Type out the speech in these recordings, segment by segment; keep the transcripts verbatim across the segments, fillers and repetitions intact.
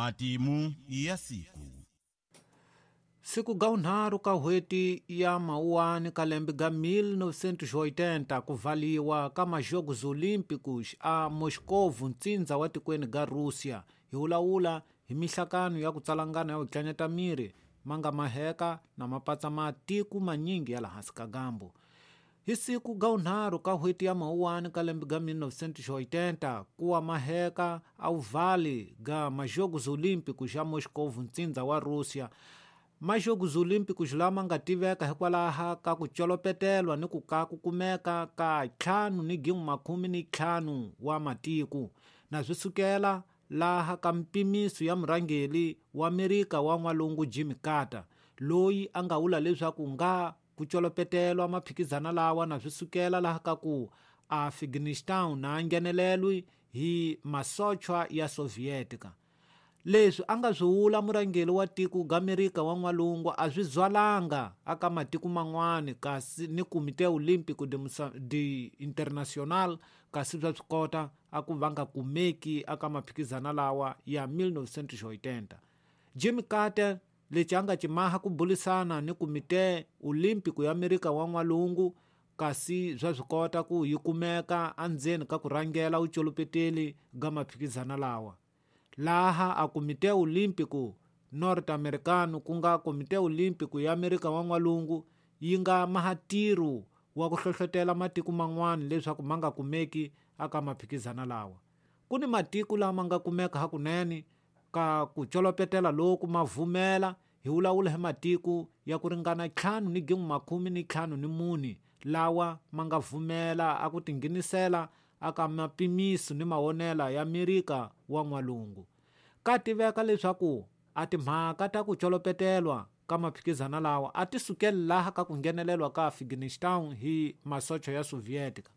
Matimu ya siku. Siku ga unharu ka hweti ya mauani ka lembe ga mil novecentos e oitenta kuvaliwa ka Majogos Olímpicos a Moscovo ntsindza wa tikweni ga Rússia hi wulawula hi mihlakano ya ku tsalangana ya ku tlanyeta miri manga maheka na mapatsa matiko manyingi ya la hansi ka gambo. Hi siku ga unharu ka hweti ya mauani ka lembe ga mil novecentos e oitenta kuwa maheka au vale ga Majogos Olímpicos ya Moscovo ntsindza wa Rússia. Majogos Olímpicos lama nga tiveka hikwalaho ka ku colopetelwa ni ku ka ku kumeka ka ntlhanu ni gin'we makume ni ntlhanu wa matiko na swi sukela laha ka mpimiso ya murhangeri wa Amerika wa n'walungu Jimmy Carter loyi a nga vula leswaku nga ku colopetelwa maphikizana lawa na swi sukela laha ka ku Afghanistan na nghenelelwi hi masochwa ya Sovietika. Leswi a nga swi vula murhangeri wa tiko ga Amerika wa n'walungu a swi zwalanga aka matiko man'wani kasi ni Comité Olímpico de, de Internacional kasi bya swi kota a ku va nga kumeki aka maphikizana lawa ya mil novecentos e oitenta. Jimmy Carter lexi a nga cimaha ku bulisana ni Comité Olímpico ya Amerika wa n'walungu kasi bya swi kota ku yi kumeka endzeni ka ku rhangela vucolopeteli ga maphikizana lawa. Laha a Comité Olímpico Norte-Americano ku nga Comité Olímpico ya Amerika wa n'walungu yi nga mahatirhu wa ku hlohlotela matiko man'wana leswaku ma nga kumeki aka maphikizana lawa. Ku ni matiko lama nga kumeka hakunene ka ku colopetela loku ma vumela hi wulawula hi matiko ya ku ringana ntlhanu ni gin'we makume ni ntlhanu ni mune lawa ma nga vumela a ku tinghenisela aka mapimiso ni mawonela ya Amerika wa n'walungu. Ka tiveka leswaku a timhaka ta ku colopetelwa ka maphikizana lawa a ti sukeli laha ka ku nghenelelwa ka Afghanistan hi masocha ya Sovietika.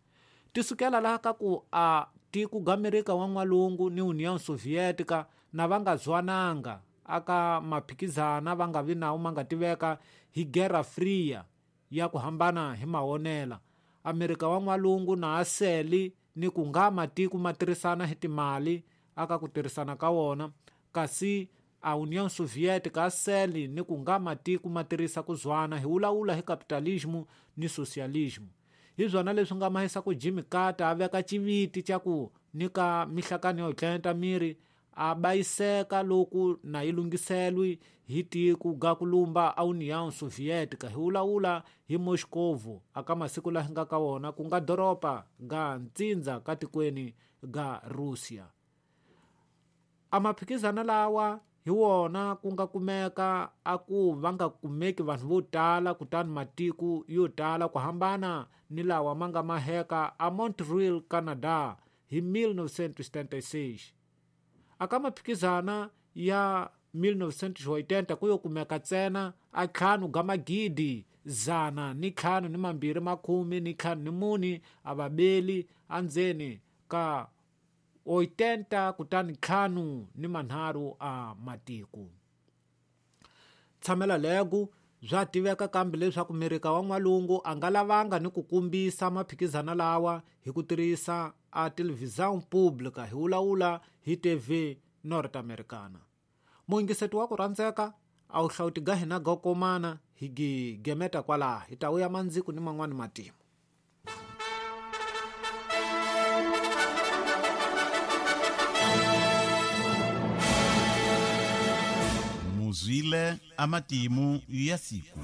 Ti sukela laha ka ku a tiko ga Amerika wa n'walungu ni União Soviética na va nga zwananga aka maphikizana va nga vi nawo ma nga tiveka hi Guerra Fria ya ku hambana hi mawonela. Amerika wa n'walungu na aseli ni ku nga matiko ma tirhisana hi timali aka ku tirhisana ka wona kasi a União Soviética aseli ni ku nga matiko ma tirhisa ku zwana hi wulawula hi capitalismo ni socialismo. Hi swona leswi nga mahisa ku Jimmy Carter a veka xiviti xa ku nyika mihlakano yo tlenta miri a bayiseka loku na yi lunghiselwi hi tiko ga ku lumba a União Soviética hi wulawula hi Moscovo aka masiku laha nga ka wona ku nga doroba ga ntsindza ka tikweni ga Russia. A maphikizana lawa hi wona ku nga kumeka a ku va nga kumeki vanhu vo tala kutani matiko yo tala ku hambana ni lawa ma nga maheka a Montreal, Canada hi mil novecentos e setenta e seis. Aka maphikizana ya mil novecentos e oitenta ku yo kumeka ntsena a ntlhanu ga magidi zana ni ntlhanu ni mambirhi makhume ni ntlhanu ni mune a vabeli endzeni ka oitenta kutani ntlhanu ni manharhu a matiko. Tshamela legu bya tiveka kambe leswaku Amerika wa n'walungu a nga lavanga ni ku kumbisa maphikizana lawa hi ku tirhisa a televisão pública hi wulawula hi T V Norte-Americana. Muingiseti wa ku rhandzeka a wu hlawuti ga hina ga komana hi gemeta kwalaha hi ta wuya mandziku ni man'wani matimu. Muzwile amatimu ya siku.